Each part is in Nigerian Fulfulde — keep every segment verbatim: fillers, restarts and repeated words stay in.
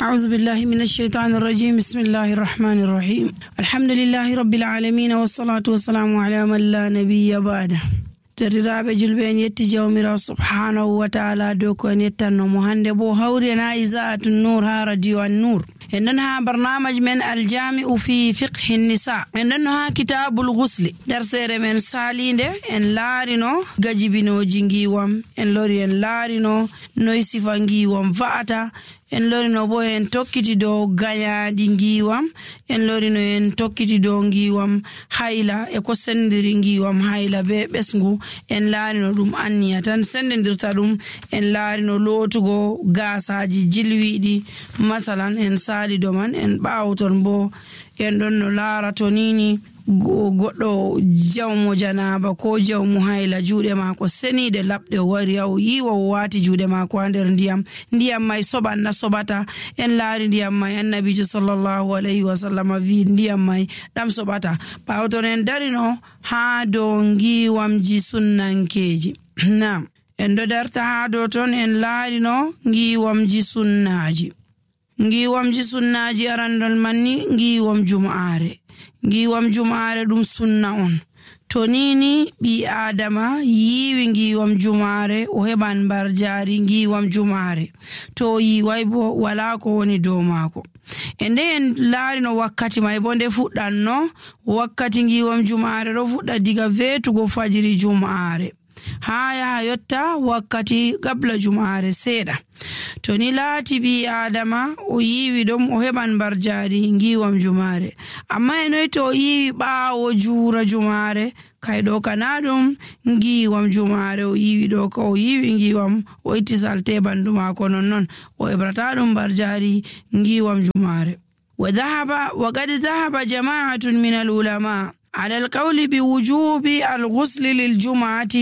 أعوذ بالله من الشيطان الرجيم بسم الله الرحمن الرحيم الحمد لله رب العالمين والصلاة والسلام على من لا نبي بعده. Derdiraaɓe julɓe en yetti jawmirawo subhanahu wa taala dow ko en yettannomo hande bo hawri en ha isaatu nour ha radio an nour en ɗon ha barnamaji men aljami'u fi fiqhi nisa en ɗon no ha kitabul ghusli darsere men salinde en laarino gajibinoji ngiwam en lori en laarino noy sifa ngiwam va'ata en lorino bo en tokkiti dow gayaɗi ngiwam en lorino en tokkiti dow ngiwam hayla e ko sendiri ngiwam hayla be ɓesngu en laarino ɗum anniya tan sendidirta ɗum en laarino lootugo gasaji jilwiɗi masalan en sali do man en ɓawton bo en ɗon no laarato nini goɗɗo jawmo janaba ko jawmo hayla juuɗe maako seniide laɓɗe wari haw yiwa o waati juuɗe maako ha nder ndiyam ndiyam may soɓan na soɓata en laari ndiyam may annabijo sallallahu alayhi wa sallam wi ndiyam may ɗam soɓata ɓawton en darino ha dow ngiwamji sunnankeji nam en ɗo darta ha dow ton en laarino ngiwamji sunnaji ngiwamji sunnaji arandol manni ngiwam jum'are ngiwam jum'are ɗum sunna on to nini ɓi adama yiwi ngiwam jum'are o heɓan mbar jari ngiwam jum'are to yiwai bo wala ko woni dow maako e nde en laarino wakkati may bo nde fuɗɗanno wakkati ngiwam jum'are ɗo fuɗɗa diga vetugo fajiri jum'are ha yaha yotta wakkati gabla jum'are seeɗa to ni laati ɓi adama o yiwi ɗum o heɓan mbar jari ngiwam jum'are amma e noy to o yiwi ɓaawo juura jum'are kay ɗo kana ɗum ngiwam jum'are o yiwi ɗo ka o yiwi ngiwam o itti salte bandu maako nonnon o heɓrata ɗum mbar jari ngiwam jum'are wa dhahaba wa qad dhahaba jama'atun min al ulama على القول بوجوب الغسل للجمعة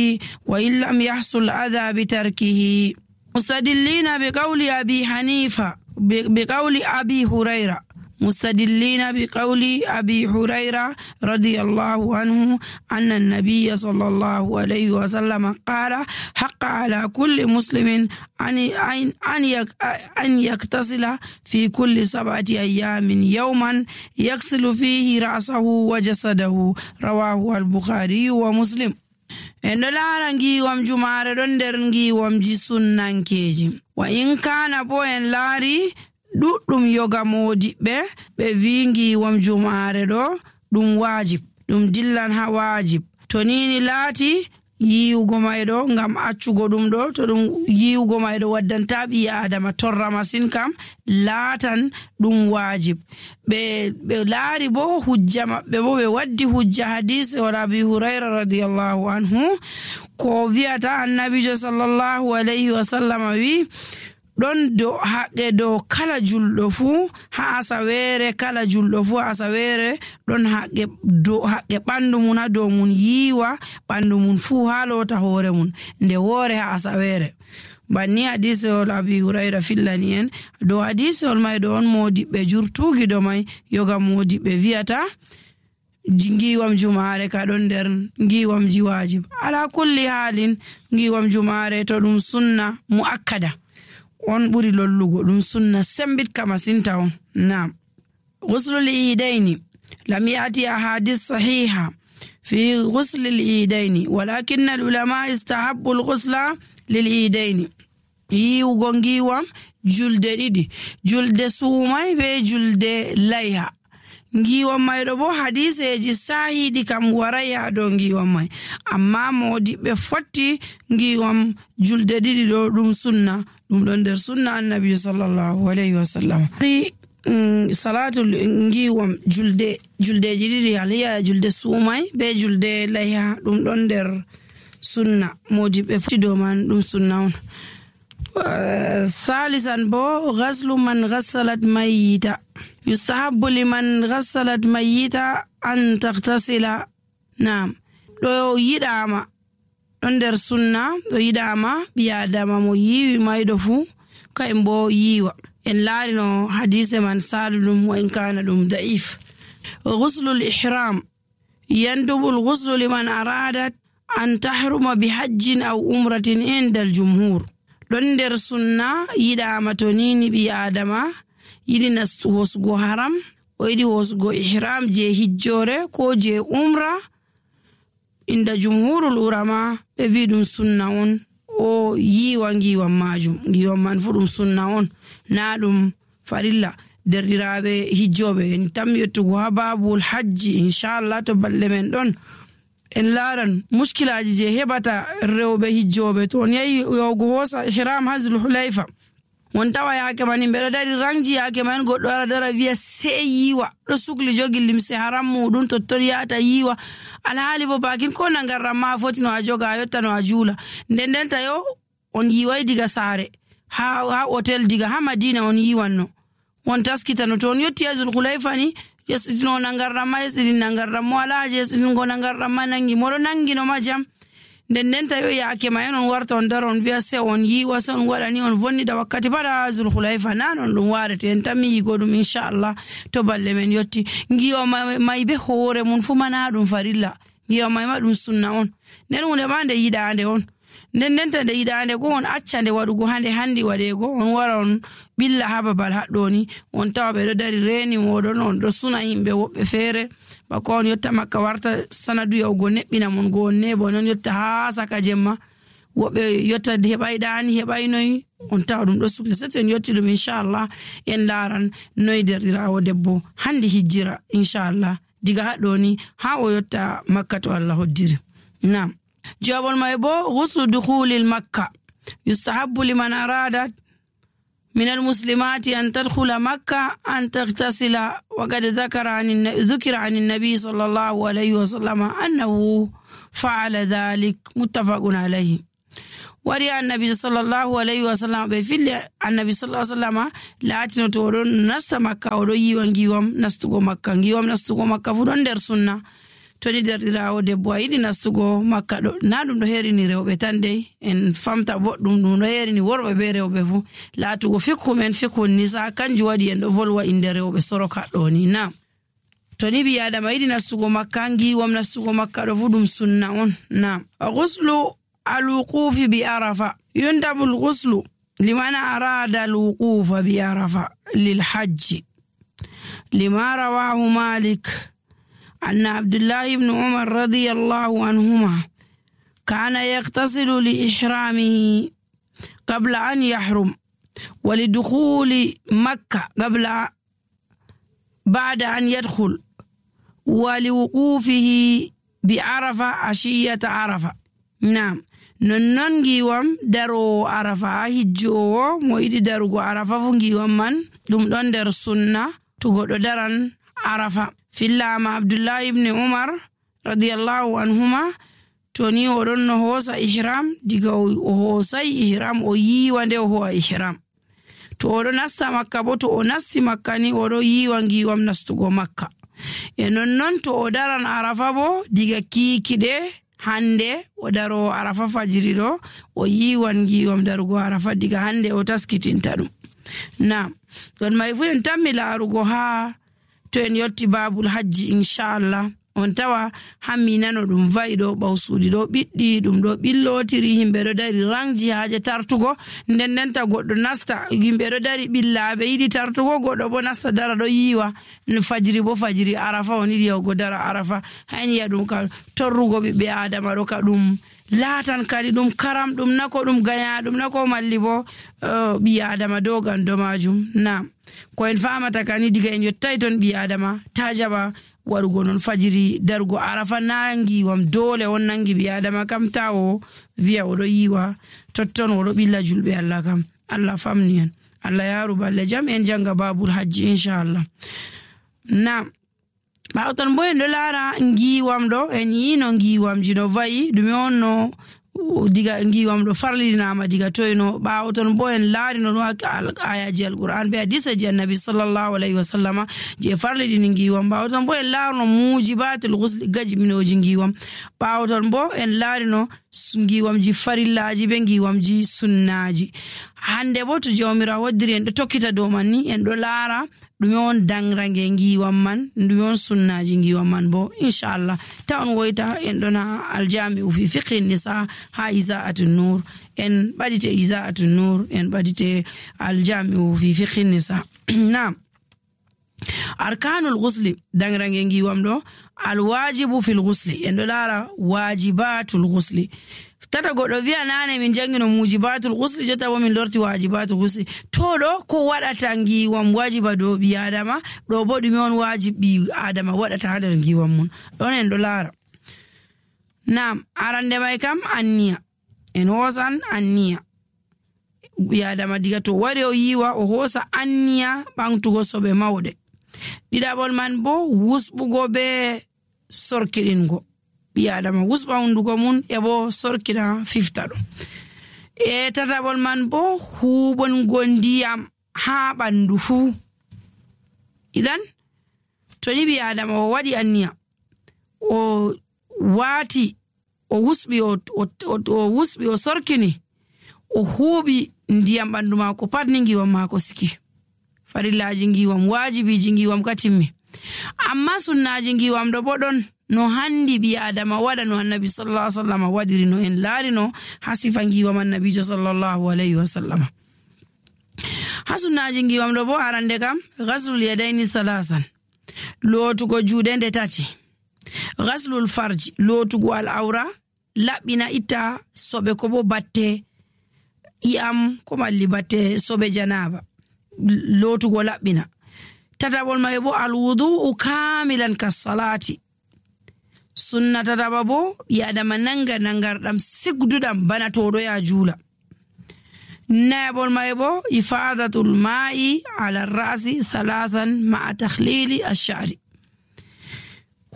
وإن لم يحصل أذى بتركه مستدلين بقول أبي حنيفة بقول أبي هريرة مستدلين بقول أبي هريرة رضي الله عنه أن النبي صلى الله عليه وسلم قال حق على كل مسلم أن أن يغتسل في كل سبعة أيام يوما يغسل فيه رأسه وجسده رواه البخاري ومسلم en ɗo laara ngiwam jumare ɗon nder ngiwamji sunnankeji wa in kana bo en laari ɗuɗɗum yoga modiɓɓe ɓe wi ngiwam jumare ɗo ɗum wajib ɗum dillan ha wajib to nini laati yiwugo mayɗo ngam accugo ɗum ɗo to ɗum yiwugo mayɗo waddanta ɓi adama torra masin kam laatan ɗum wajib ɓe ɓe laari bo hujja maɓɓe bo ɓe waddi hujja hadise o Abi Hurayra radiyallahu anhu ko wi'ata annabijo sallallahu alayhi wa sallam wi ɗon do haqqe dow kala julɗo fuu ha asawere kala julɗo fuu ha asawere ɗon haqqe dow haqqe ɓandu mun ha dow mun yiwa ɓandu mun fuu ha lota hoore mun nde woore ha asawere banni hadisewol Abi Hurayra fillani en dow hadisewol may ɗo on modiɓɓe jurtugi do may yoga modiɓɓe wiyata ngiwam jumare ka ɗon nder ngiwamji wajib ala kulli halin ngiwam jumare to ɗum sunna muakkada on ɓuri lollugo ɗum sunna sembitka masinta on nam ghuslul iidaini lam yati ahadith sahiha fi ghusl al iidaini walakin al ulama istahabbu al ghusla lil iidaini yiwugo ngiwam julde ɗiɗi julde suumay be julde layha ngiwam may ɗo bo hadiseji sahiɗi kam waray ha dow ngiwam may amma modiɓɓe fotti ngiwam julde ɗiɗi ɗo ɗum sunna ɗum ɗon nder sunna annabi sallallahu alayhi wa sallam salatu ngiwam julde juldeji ɗiɗi aliya julde suumay be julde layha ɗum ɗon nder sunna modiɓɓe fotti dow man ɗum sunna on ثالثا بو غسل من غسلت ميتا يستحب لمن غسلت ميتا أن تغتسل نعم لو يداما under sunna do yidama biadama mo yiwi maydo fu kaymbo yiwa en laarino hadise man saludum wa in kana dum da'if ghusl al-ihram yandubu al-ghusl liman aradat an tahruma bi hajjin aw umratin inda al-jumhur don der sunna yidama to nini bi adama yiɗi nastu hosugo haram o yiɗi hosugo ihram je hijjore ko je umra, inda jumhurul urama ɓe wi ɗum sunna on o yiwa ngiwam majum. Ngiwam man fu ɗum sunna on na ɗum farilla. Derɗiraɓe hijjoɓe en tammi yettugo ha babul hajji inchallah to balɗe men ɗon en laran muskilaji je heɓata rewɓe hijjoɓe to on yahi yawgo hosa ihram ha Zulhulayfa on tawa yake man himɓe ɗo dari rangji yake man goɗɗo ara dara wiya sey yiwa ɗo sukli jogi limse haram muɗum totton yata yiwa alhaali bo bakin ko nangarram ma foti no a joga a yotta no a juula. nden ndenta yo on yiwai diga saare ha, ha hotel diga ha Madina on yiwanno on taskitano to on yotti ha Zulhulayfa ni yesitino nangarram ma yesitin nangarram mo ala je yesitingo nangarram ma nangi moɗo nangino ma jam. nden ndenta yo yake ma en on warta on dara on wiya se on yiwa se on waɗani on vonnida wakkati pada Zulhulayfa nan on ɗum warete en tammi yigo ɗum inchallah to balle men yotti. Ngiwa may be hoore mun fu mana ɗum farilla, ngiwa may ma ɗum sunna on. nden hunde ma nde yiɗande on, nden ndenta nde yiɗande go on acca nde waɗugo hande handi waɗego on wara on ɓilla ha babal haɗɗo ni on tawa ɓe ɗo dari reni moɗon on ɗo suna yimɓe woɓɓe feere bako on yotta makka warta sanadu yawgo neɓɓina mon go on nebo non yotta ha saka jemma woɓɓe yotta heɓay ɗani heɓay noyi on tawa ɗum ɗo sukli. Sete en yotti ɗum inchallah en laran noyi derɗirawo debbo handi hijjira inchallah diga haɗɗo ni ha o yotta makka to Allah hoddiri. Nam jawabol may bo ghuslu dukhulil makka yustahabbu liman aradat من المسلمات أن تدخل مكة أن تغتسل وقد ذكر عن ذكر عن النبي صلى الله عليه وسلم أنه فعل ذلك متفق عليه. وري النبي صلى الله عليه وسلم بفعل النبي صلى الله عليه وسلم لا تنتورون نست مكة وري وانجيوم نستغو مكة انجيوم نستغو مكة فدون در سنة toni derɗirawo debbo a yiɗi nastugo makka ɗo na ɗum ɗo herini rewɓe tan dey en famta boɗɗum ɗum ɗo herini worɓe be rewɓe fu laatugo fikhu men fikhu nisa kanjum waɗi en ɗo volwa inde rewɓe soroka ɗo ni. Nam toni ɓi adama yiɗi nastugo makka ngiwam nastugo makka ɗo fu ɗum sunna on. Nam ghuslu alwuqufi bi arafa yundabu lghuslu liman arada alwuqufa bi arafa lilhajji lima rawahu Malik أن عبد الله بن عمر رضي الله عنهما كان يغتسل لإحرامه قبل أن يحرم ولدخول مكة قبل بعد أن يدخل ولوقوفه بعرفة عشية عرفة. نعم نننجي وم درو عرفة هجو مويد درو عرفة فنجي ومن دم دون در السنة تقول درن عرفة. fillama Abdullahi ibn Umar radiyallahu anhuma toni oɗon no hosa ihram diga o hosai ihram o yiwa nde o howa ihram to oɗo nasta makka bo to o nasti makka ni oɗo yiwa ngiwam nastugo makka e nonnon to o daran arafa bo diga kikiɗe hande o daro arafa fajiri ɗo o yiwan ngiwam darugo arafa diga hande o taskitinta ɗum. Nam don may fu en tammi larugo ha to en yotti babul hajji inchallah on tawa hammi nano ɗum va'i ɗo ɓawsuuɗi ɗo ɓiɗɗi ɗum ɗo ɓillotiri yimɓe ɗo dari rangji haaje tartugo nden ndenta goɗɗo nasta yimɓe ɗo dari ɓillaɓe yiɗi tartugo goɗɗo bo nasta dara ɗo yiwa fajiri bo fajiri arafa on yiɗi yawgo dara arafa hayniya ɗum ka torrugo ɓiɓɓe adama ɗo ka ɗum laatan kadi ɗum karam ɗum nako ɗum gaya ɗum nako malli bo uh, ɓi adama dogan do majum. Nam ko en famata kani diga en yottai ton ɓi adama ta jaɓa warugo non fajiri darugo arafa nangiwam dole on nangi ɓi adama kam ta o wiya oɗo yiwa totton oɗo ɓilla julɓe Allah kam Allah famni en Allah yaru balle jam en janga babul hajji inchallah. Nam ɓawo ton bo en ɗo laara ngiwam ɗo en yino ngiwamji no vayi ɗume on no diga ngiwam ɗo farlinama diga toyno ɓawo ton bo en laarino ɗum ayaji alquran be hadisaji annabi sallallahu alayhi wa sallama je farliɗini ngiwam ɓawo ton bo en laarino mujibatul ghusli gajminoji ngiwam ɓawo ton bo en laarino ngiwamji farillaji be ngiwamji sunnaji. Hande bo to jawmirawo waddiri en do tokkita dow man ni en do laara ɗume on dangrange ngiwam man, ɗume on sunnaji ngiwam man bo inshallah ta on woyta en ɗona aljami'u fi fiqhi nisa ha Iza'atun Nur, en ɓadite Iza'atun Nur, en ɓadite aljami'u fi fiqhi nisa. Naam. Arkanul ghusli dangrange ngiwam ɗo alwajibu fil ghusli, en ɗo laara wajibatul ghusli. Tata goɗɗo wi'a nane min jangino mujibatul ghusli, jotta bo min lorti wajibatul ghusli. To ɗo ko waɗata ngiwam wajiba dow ɓi adama, ɗo bo ɗume on wajibi adama waɗata ha nder ngiwam mun, ɗon en ɗo laara. Naam, arande mai kam anniya, en hosan anniya. Ɓi adama diga to wari o yiwa o hosa anniya ɓamtugo soɓe mawɗe. Ɗiɗaɓol man bo wusɓugo be sorkiɗingo. Ɓi adama wusɓa hunduko mun e bo sorkina fifta ɗo. E tataɓol man bo huɓongo ndiyam ha ɓandu fuu. Idan to ni ɓi adama o waɗi anniya o waati o wusɓi o, o, o, o wusɓi o sorkini o huuɓi ndiyam ɓandu maako pat ni ngiwam maako siki. Farillaji ngiwam, wajibiji ngiwam katimmi. Amma sunnaji ngiwam ɗo bo ɗon no handi ɓi adama waɗa no annabi sallallahu alaihi wasallam waɗiri, no en laari no ha sifa ngiwam annabijo sallallahu alaihi wasallam. Ha sunnaji ngiwam ɗo bo arande kam ghaslul yadaini salasan, lootugo juuɗe nde tati. Ghaslul farji, lootugo al-awra, laɓɓina itta soɓe ko bo batte i'am ko malli batte soɓe janaba, lootugo laɓɓina. Tataɓol mai bo alwudu'u kamilan kas salati, sunna tataɓa bo ɓi adama nanga nangarɗam sigduɗam bana toɗo ya juula. Nayaɓol mai bo ifadatul ma'i ala ra'si salasan ma'a takhlili ash-sha'ri,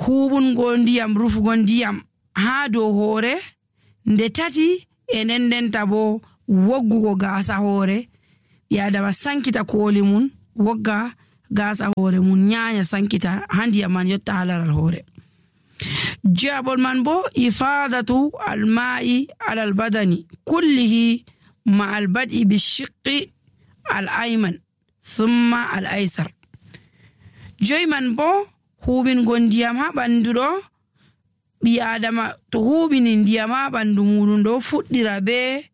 huɓungo ndiyam, rufugo ndiyam ha dow hoore nde tati, e nden ndenta bo woggugo gaasa hoore. Ɓi adama sankita kooli mun, wogga gaasa hoore mun, nyanya sankita ha ndiyam man yotta ha laral hoore. Jaɓol man bo ifadatu alma'i ala albadani kullihi ma albad'i bishiqqi al-ayman thumma al-aysar. Joy man bo huɓingo ndiyam ha ɓandu ɗo. Ɓi adama to huɓini ndiyam ha ɓandu muɗum ɗo fuɗɗira be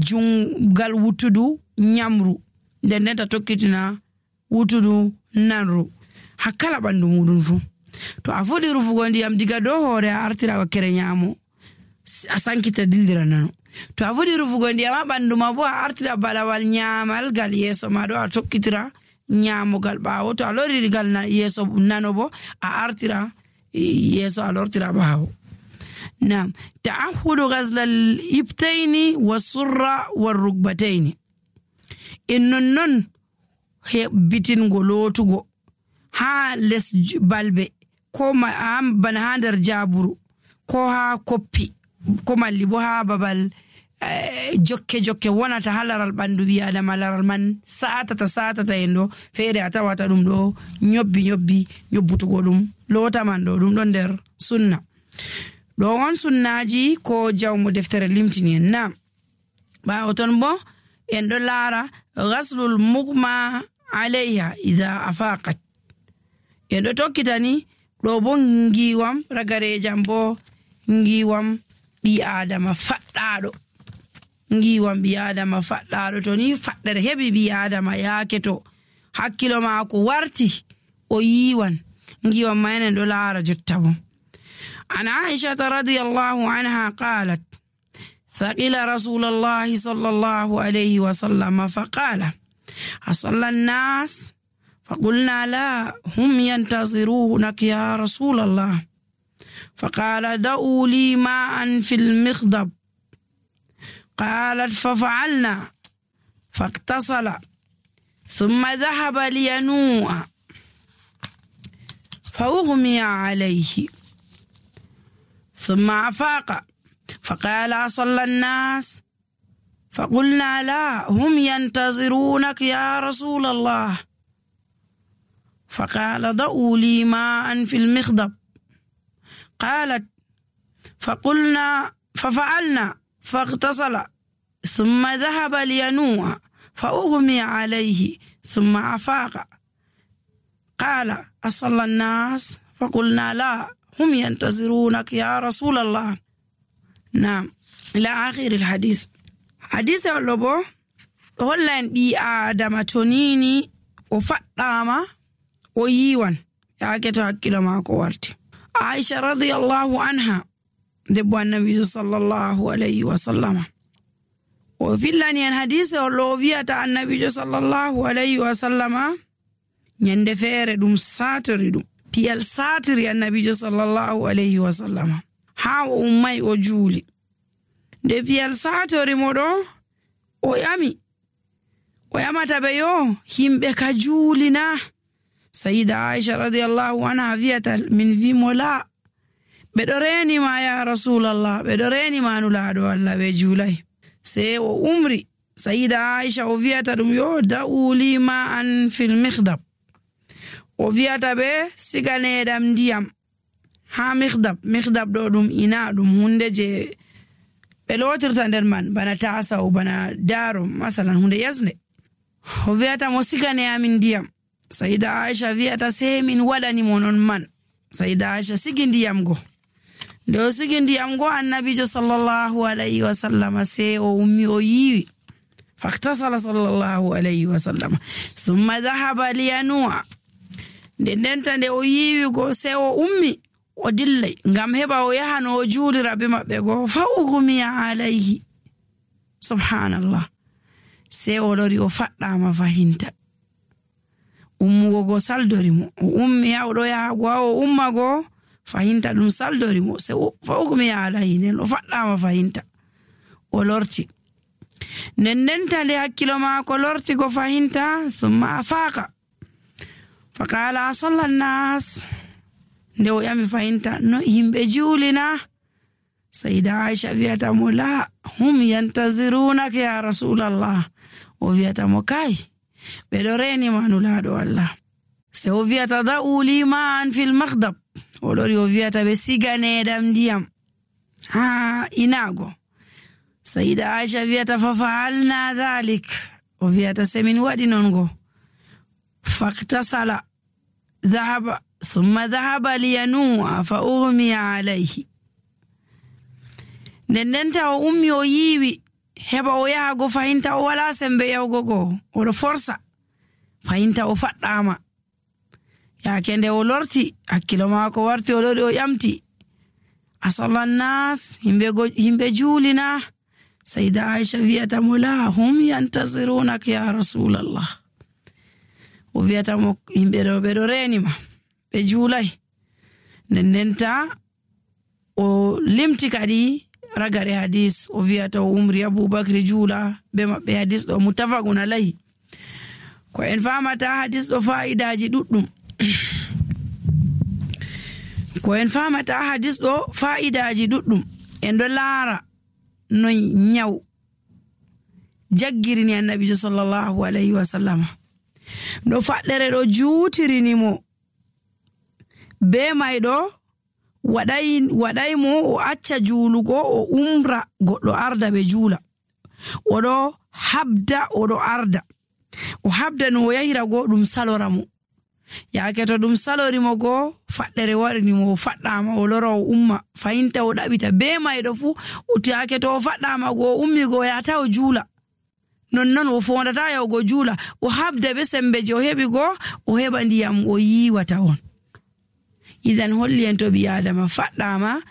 jungal wutudu nyamru, nden ndenta tokkitina wutudu nanru ha kala ɓandu muɗum fu. To a fuɗi rufugo ndiyam diga dow hoore a artira wakkere nyamo a sankita dildira nano. To a fuɗi rufugo ndiyam ha ɓandu ma bo a artira balawal nyamal gal yeso ma ɗo a tokkitira nyamogal ɓawo. To a loriri gal na yeso nano bo a artira yeso a lortira ɓawo. Naam, ta'ahudu ghazlal ibtaini wasurra warrukbataini, en nonnon hebbitingo lootugo ha les balbe ko ma bana ha nder jaburu ko ha koppi ko malli bo ha babal eh, jokke jokke wonata ha laral ɓandu ɓi adama, laral man satata satata en ɗo feere a tawata ɗum ɗo nyobbi nyobbi nyobbutugo ɗum loota man ɗo ɗum ɗon nder sunna. Ɗo on sunnaji ko jawmo deftere limtini en. Naam, ɓawo ton bo en ɗo laara ghaslul mugma alayha idha afaqat, en ɗo tokkitani ɗo bo ngiwam ragarejam bo ngiwam ɓi adama faɗɗaɗo, ngiwam ɓi adama faɗɗaɗo. To ni faɗɗere heɓi ɓi adama yaake to hakkilo maako warti o yiwan ngiwam ma en ɗo laara jotta bo. عن عائشة رضي الله عنها قالت ثقل رسول الله صلى الله عليه وسلم فقال أصلى الناس؟ فقلنا لا، هم ينتظرونك يا رسول الله. فقال دعوا لي ماء في المخضب. قالت ففعلنا فاغتسل ثم ذهب لينوء فأغمي عليه ثم أفاق فقال أصلى الناس؟ فقلنا لا، هم ينتظرونك يا رسول الله. فقال ضعوا لي ماء في المخضب. قالت فقلنا ففعلنا فاغتسل ثم ذهب لينوء فأغمي عليه ثم أفاق. قال أصلى الناس؟ فقلنا لا هم ينتظرونك يا رسول الله. نعم إلى آخر الحديث. حديث اللبو هلان بي آدم تونيني وفتاما ويوان ياكتو حكيلو ماكو وارتي. عائشة رضي الله عنها دبو النبي صلى الله عليه وسلم. وفي اللان حديث اللوفية النبي صلى الله عليه وسلم nyande feere dum satiri dum piyal satiri annabijo sallallahu alayhi wa sallam ha o ummay o juuli. Nde piyal satori modo o yami o yamata be yo himbe ka juulina. Sayyida Aisha radiyallahu anha viyata min vi mola be do reni ma ya Rasulullah, be do reni ma nulaado Allah be juulay. Se o umri Sayyida Aisha o viyata dum yo da'uli ma an fil mikhdab, o viyata be siganedam ndiyam ha mikhdab. Mikhdab do dum ina dum hunde je be lotirta nder man bana tasa o bana daro masalan hunde yasne. O viyata mo sigane amin ndiyam. Sayyida Aisha viyata se min wadani mo non man. Sayyida Aisha sigi ndiyam go. Nde o sigi ndiyam go annabijo sallallahu alayhi wa sallam se o ummi o yiwi. Faktasala sallallahu alayhi wa sallam thumma dhahaba liyanua. Nde ndenta nde o yiwi go se o ummi o dillay ngam heba o yahano o juulira be mabbe go. Fa ugmiya alayhi. Subhanallah. Se o lori o faddama fahinta. Ummugo go saldori mo. O ummi ya o do yaha go o umma go fahinta dum saldori mo. Se fa ugmiya alayhi nen o faddama fahinta. O lorti. Nden ndenta nde hakkilo maako lorti go fahinta summa afaqa. فقال أصلى الناس؟ ندو يامي فاينتا نو يمبي جولنا. سيدة عائشة فيها مولا هم ينتظرونك يا رسول الله. وفيها موكاي بدوريني ما نولادو الله. سو فيها تضعوا لي مان في المخضب. ولوري وفيها بسيغاني دام ديام ها إناغو. سيدة عائشة فيها ففعلنا ذلك. وفيها سمين وادي نونغو. فاغتسل ذهب ثم ذهب لينوء فأغمي عليه. Nendenta o ummi o yiwi heba o yaha go fahinta o wala sembe yawgo go o do forsa fahinta o faddama. Ya kende o lorti hakkilo maako warti o lori o yamti. Asalla nas himbe go himbe juulina. Sayyida Aisha viyata mula hum yantazirunaka ya Rasulullah. O viyata mo himbe do be do renima be juulay. Nendenta o limti kadi ragare hadis o viyata o umri Abubakar juula be mabbe hadis do mutafaqun alayhi. Ko en famata hadis do faidaji duddum. Ko en famata hadis do faidaji duddum. En do laara no nyaw jaggirini annabi sallallahu alayhi wa sallam. No faddere do juutirini mo be maydo waday waday mo o acca juulugo o umra goddo arda be juula odo habda odo arda o habda no yahira go dum salora mo yaake to dum salori mo go faddere warini mo faddama o loro o umma fayinta o dabita be maydo fu o tiake to faddama go ummi go ya taw juula non non o fondata yaw go juula o habda be sembeje o hebi go o heba ndiyam o yiwata on. Idan holli en to bi adama faddama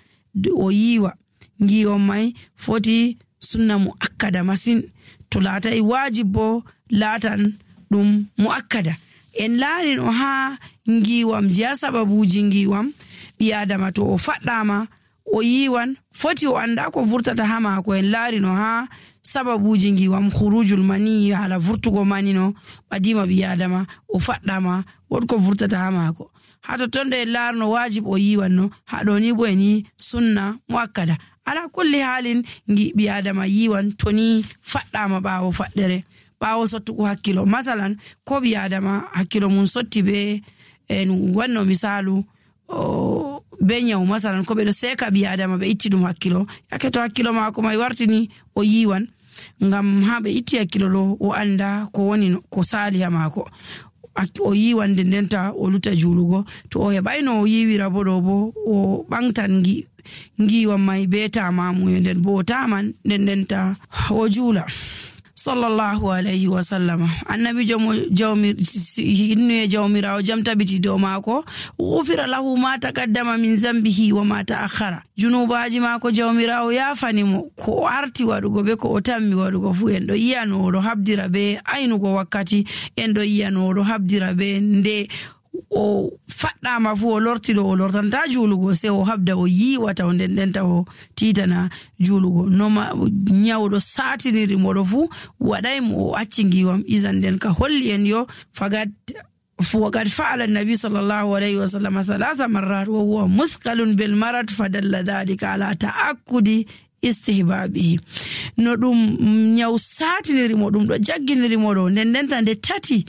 o yiwa ngiyo mai foti sunna muakkada masin to lata e wajibo latan dum muakkada en laarin o ha ngiwam jiya sababuji ngiwam bi adama to o faddama o yiwan foti o anda ko vurtata hama ko en laarin o ha sababuji ngiwam khurujul mani ala vurtugo manino badima bi adama o faddama wodko vurtata hama ko hato tonde larno wajib o yiwanno hado ni bweni sunna muakkada ala kulli halin ngi bi adama yiwan toni faddama bawo faddere bawo sottugo hakkilo masalan ko bi adama hakkilo mun sotti be en wanno misalu o be nyawu masalan ko ɓe ɗo seka ɓi adama ɓe itti ɗum hakkilo yake to hakkilo maako mai wartini o yiwan ngam ha ɓe itti hakkilo ɗo o anda ko woni ko sali ha maako o yiwan nden ndenta o luta julugo to o heɓayno o yiwira bo ɗo bo o ɓangtan gi ngiwan mai be tamamuye nden bo o taman nden ndenta o juula sallallahu alayhi wa sallama annabi jomo jawmi hinnuye jawmirawo jam tabiti dow maako ufira lahu ma taqaddama min zambihi wa ma ta'akhkhara junubaji maako jawmirawo yafanimo ko arti waɗugo be ko o tammi waɗugo fu en ɗo yiyano oɗo habdira be aynugo wakkati en ɗo yiyano oɗo habdira be nde o faɗɗama fu o lortiɗo o lortanta julugo se o habda o yiwata o nden ndenta o titana julugo noma nyawɗo satiniri moɗo fu waɗaymo o acci ngiwam isan nden ka holli en yo fagad وقد فعل النبي صلى الله عليه وسلم ثلاث مرات وهو مثقل بالمرض فدل ذلك على تأكد istihbabihi no ɗum nyaw satiniri mo ɗum ɗo jagginiri mo ɗo nden ndenta nde tati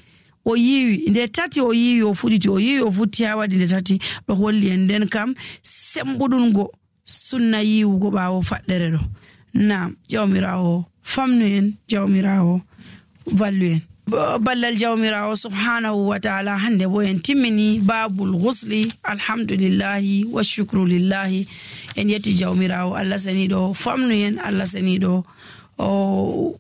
o yiwi nde tati o yiwi o fuɗiti o yiwi o futti ha waɗi nde tati ɗo holli en nden kam sembuɗungo sunna yiwugo ɓawo faɗɗere ɗo nam jawmirawo famnu en jawmirawo vallu en ballal jawmirawo subhanahu wa ta'ala hande bo en timmini babul ghusli alhamdulillahi wa shukru lillahi en yetti jawmirawo Allah sani ɗo famnu en Allah sani ɗo o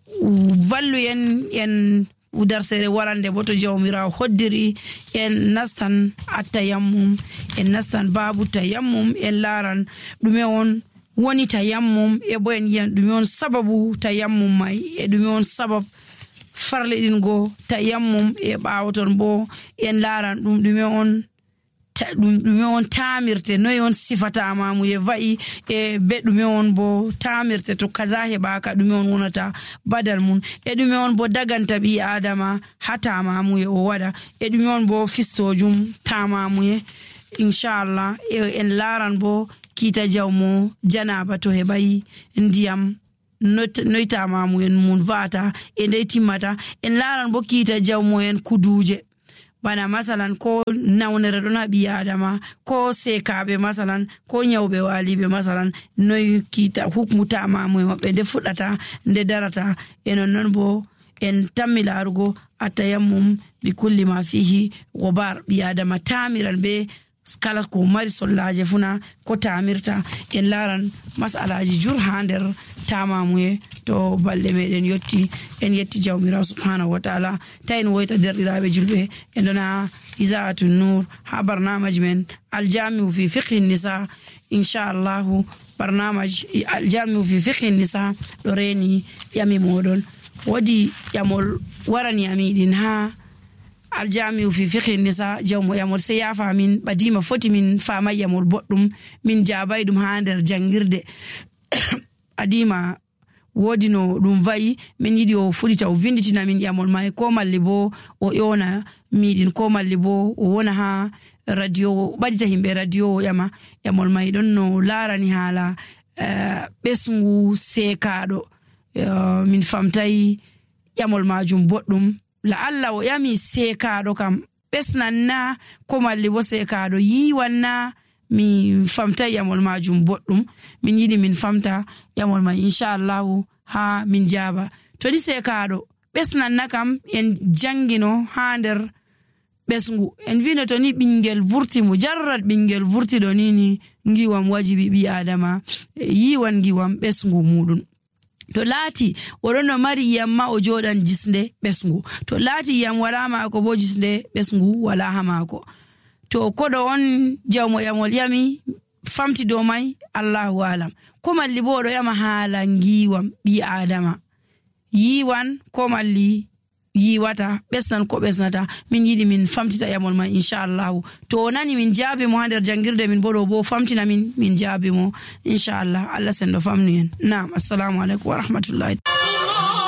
vallu en en udarsere warande bo to jawmirawo hoddiri en nastan attayammum en nastan babu tayammum en laran ɗume on woni tayammum e bo en yiyan ɗume on sababu tayammum mai e ɗume on sabab farle ɗin go tayammum e ɓawoton bo en laran ɗum ɗume on ɗume on tamirte noy on sifatama mu ye va'i e be ɗume on bo tamirte to kaza heɓaka ɗume on wonata badal mun e ɗume on bo daganta ɓi adama ha tamamuye o waɗa e ɗume on bo fistojum tamamuye inchallah en laran bo kiita jawmo janaba to heɓayi ndiyam noytamamu en mun vata e ndey timmata en laran bo kiita jawmo en kuduje bana masalan ko nawnere ɗon ha ɓi adama ko sekaɓe masalan ko nyawɓe waliɓe masalan noy kiita hukmu tamamu e maɓɓe nde fuɗɗata nde darata e nonnon bo en tammi larugo atayammum bi kulli ma fihi gobar ɓi adama tamiran be kala ko mari sollaje funa ko tamirta en laran masalaji jur ha nder tamamuye to balɗe meɗen yetti en yetti jawmirawo subhanahu wa ta'ala tayin woyta derɗiraɓe julɓe en ɗona isaatu nour ha barnamaji men aljamiu fi fiqhi nisa inchallahu barnamaji aljamiu fi fiqhi nisa ɗo reni ƴami moɗon wodi ƴamol warani amiɗin ha aljamiu fi fiqhi nisa jawmo yamol se yafa min ɓadima foti min fama yamol boɗɗum min jabay ɗum ha nder jangirde adima wodi no ɗum vayi min yiɗi o fuɗita o vinditina min yamol mai ko malli bo o yona miɗin ko malli bo o wona ha radio ɓadita himɓe radio o ƴama yamol mai ɗon no larani haala ɓesgu sekaɗo min famtayi yamol majum boɗɗum la Allah o yami sekaɗo kam ɓesnan na ko malli bo sekaɗo yiwan na mi famta yamol majum boɗɗum min yiɗi min famta yamol ma inchallahu ha min jaba to ni sekaɗo ɓesnan na kam en jangino ha nder ɓesgu en vino to ni ɓingel vurti mu jarrat ɓingel vurtiɗo nini ngiwam wajibi ɓi adama yiwan ngiwam ɓesgu muɗum to laati oɗon no mari yiyam ma o joɗan jisnde ɓesgu to laati yiyam wala maako bo jisnde ɓesgu wala ha maako to koɗo on jawmo yamol yami famti dow mai allahu alam ko malli bo oɗo yama haala ngiwam ɓi adama yiwan ko malli yiwata ɓesnan ko ɓesnata min yiɗi min famtita yamol ma inchallahu to o nani min jaabi mo ha nder jangirde min bo ɗo bo famtina min min jaabi mo inchallah Allah sen ɗo famnu en nam assalamu aleykum wa rahmatullahi